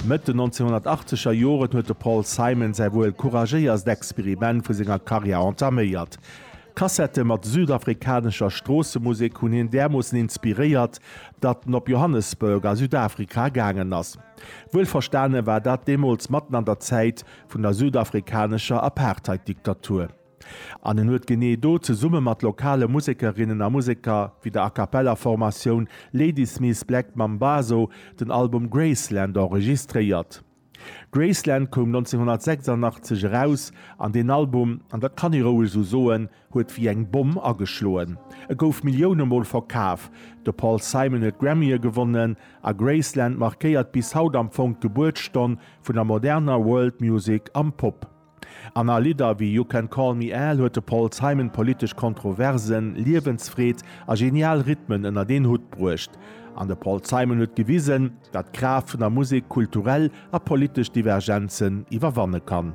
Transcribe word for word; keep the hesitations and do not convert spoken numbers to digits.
Mëtt den nonzénhunnertachtzeger Joren huet de Paul Simon säi wuel couragéierst Experiment vu senger Karriär entaméiert. Kassette mat südafrikanescher Stroossemusek hunn hien därmoossen inspiréiert, datt en op Johannesburg a Südafrika gaangen ass. Wuelverstane war dat deemools matten an der Zäit vun der südafrikanescher Apartheid-Diktatur. An en huet genee do zesumme mat lokale Musekerinnen a Museker wéi der A-cappella-Formatioun Ladysmith Black Mambazo den Album Graceland enregistréiert. Graceland koum nonzénhunnertsechsandachtzeg eraus an deen Album, an dat kann ee roueg esou soen, huet wéi eng Bomm ageschloen. E gouf Millioune Mol verkaf, de Paul Simon huet Grammye gewonnen a Graceland markéiert bis haut am Fong d'Gebuertsstonn vun der moderner World Music am Pop. An a Lidder wéi You Can Call Me Al huet de Paul Simon politesch Kontroversen, Liewensfreed a genial Rhythmen ënnert een Hutt bruecht. An de Paul Simon huet gewisen, datt d'Kraaft vun der Musek kulturell a politesch Divergenzen iwwerwanne kann.